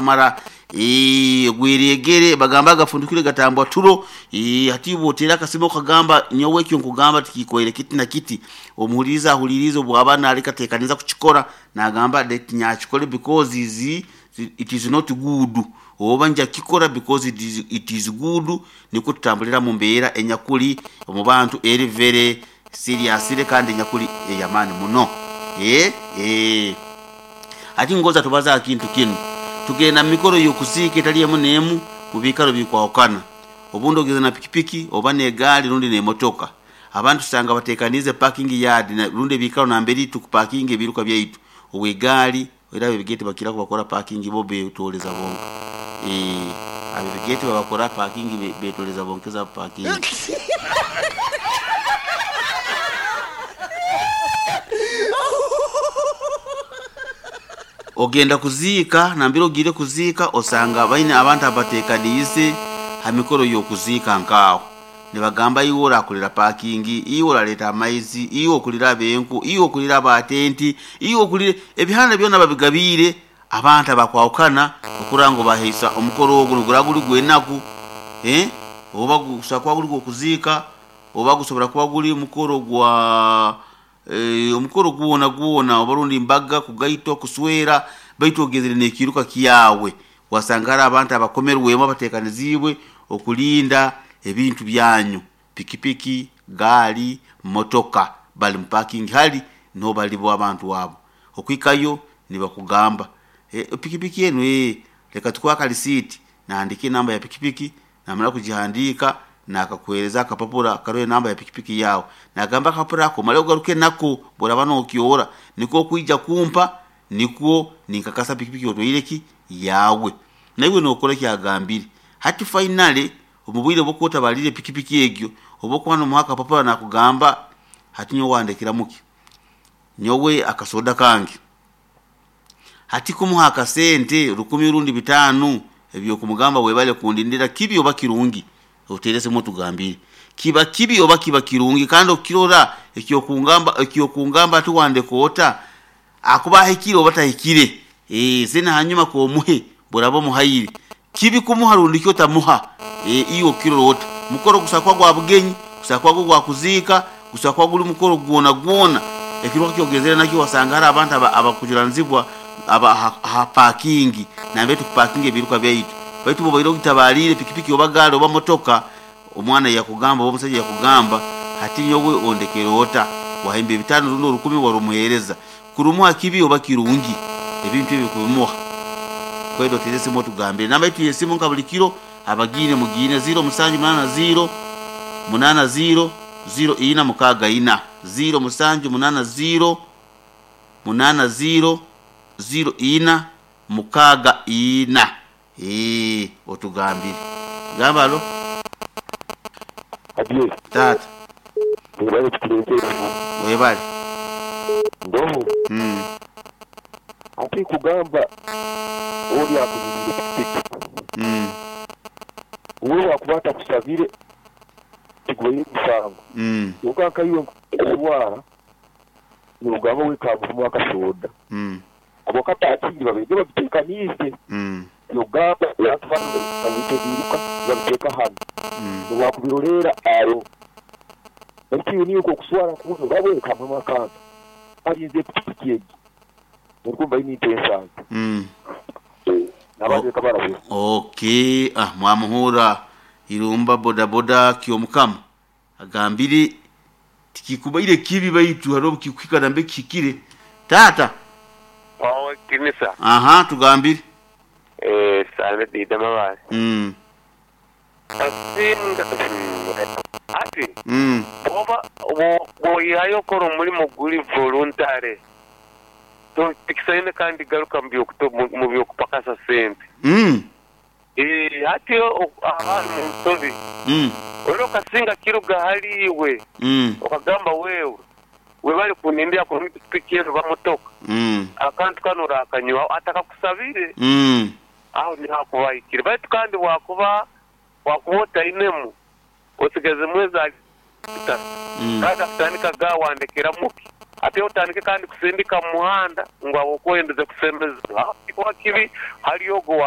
Gukamara gweregere bagamba agafundikire gatambwa turo. Hati bwotera akasimo okagamba nyowe ekyo nkugamba tikikwere kiti na kiti, omuhuliriza ahuliriza, obwaba nalekatekaniza kukikora nagamba that nyakikole because is it is not good, oba nja kikora because it is good. Nikwo tutambulira mu mbeera enyakuli omu bantu eri very serious kandi enyakuli ey'amaani muno. Hati ngoza tubaza aha kintu kinu, tugenda mu mikoro y'okuziika etali emu n'emu mu biikaro bikwahukana. Obundi ogenda na pikipiki oba n'egaari rundi n'emotoka, abandi tusanga bateekaniize parking yard rundi ebiikaro nambere tukupakinga ebiiruka byaitu. Ow'egaari era ab'ebigere tibakira kubakora parking, bo beetoleza bonka. Ab'ebigere tibabakora parking, beetoleza bonka eza parking. Ogenda kuziika, nambere ogiire kuziika osanga baine abantu abateekaniize ha mikoro y'okuziika nk'aho. Nibagamba iwe orakolera parking, iwe oraleeta amaizi, iwe okulira ab'enku, iwe okulira abatenti, iwe okulira ebihanda byona babigabiire abantu abakwahukana okurora ngu baheisa omukoro ogu niguraba guri gw'enaku, oba gusobora kuba guri gw'okuziika, oba gusobora kuba guri mukoro gwa omukoro gwona gwona, oba rundi mbaga, kugaitwa, kuswera, baitu ogenzere n'ekiiruka kyawe wasanga hariho abantu abakomerwemu abateekaniziibwe okulinda ebintu byanyu, pikipiki, gaali, motoka, bali mu parking hali niho bali bo abantu abo. Okuhikayo nibakugamba pikipiki enu leka tukuhe akarisiiti, nahandiika enamba ya pikipiki, namara kugihandiika nakakuheereza akapapura karoho enamba ya pikipiki yaawe. Nagamba akapapura ako omale ogaruke nako obu oraaba nookyoora, nikwo okwija kumpa nikwo ninkakasa pikipiki otwaire ki? Yaawe. Naiwe nookora eki agambire. Hati finally omu bwire obu okuba otabaliire pikipiki egyo, obu okuba noomuha akapapura nakugamba hati nyowe wandekeramu ki? Nyowe akasoda kange. Hati kumuha akasente rukumi rundi bitaano eby'okumugamba webale kundindira kibi oba kirungi? Oteere esimu otugambire. Kiba kibi oba kiba kirungi? Kandi okukirora eky'okungamba ati wandeka ota, akuba ahikire oba tahikire? Then hanyuma k'omuhe bw'oraba omuhaire. Kibi kumuha rundi ki otamuha? Iwe okukirora ota? Mukoro gusobora kuba gwa bugenyi, gusobora kuba guri gwa kuziika, gusobora kuba guri mukoro gwona gwona. Ekiruka kyogenzere nakyo wasanga hariho abantu abakujunaanizibwa ha parking nambere tukupakinga ebiiruka byaitu. Baitu obu obaire ogitabaliire pikipiki oba gaali oba motoka, omwana yakugamba oba omusaija yakugamba hati nyowe ondekere ota? Wahemba ebitaano rundi orukumi warumuheereza. Kurumuha kibi oba kirungi? Ebintu ebi kubimuha. Kwenda oteere esimu otugambire. Namba yaitu y'esimu nka buli kiro abagiine mugiine 0 musanju munaana 0 munaana 0 0 ina mukaaga ina 0 musanju munaana 0 munaana 0 0 ina mukaaga ina. Otugambire. Gamba halo. Adie. Taata. Webale kutuleetera eno. Webale. Ndoho. Ati kugamba oli akunyiriire pikipiki. Uwe bwakuba atakusabire tigubaire musango. Kyonka nka iwe nkuswara nogamba we kamuhemu akasoda. Abo kapakingi babaire babitekaniize. Yogamba abantu banu babiteeka ebiiruka nibabiteeka hanu nobwakubiroleera aroho. Baitu iwe niiwe okuswara kubi nogamba we kamuhemu akantu alinze epikipiki egi norukumva aine ente ensanju nabandi leka barabura. Okay, mwamuhuura Irumba bodaboda Kyomukama agambire tikikubaire kibi baitu hariho obukikuhika nambere kihikire. Taata. Owekitinisa. Aha, tugambire. Sande Dida Mabaare. Asinga ati bwoba bwoihayo okora omurimo guri voluntary tikisaine kandi garuka mu byokupakasa sente. Hati aba ari mu nsobi. Era okasinga kiruga ahari iwe okagamba wewe webale kunindira kurungi pikipiki enu oba motoka, akantu kanu orakanywaho atakakusabire, aho niho akuba ahikire. Baitu kandi bwakuba wakuba otainemu osigazemu eza lita kandi akutandika ga wandekeramu ki? Ate otandike kandi kusindika mu muhanda ngu ahabw'okuba oyendeze kusemeza. Aho tikikuba kibi hali ogwo owa.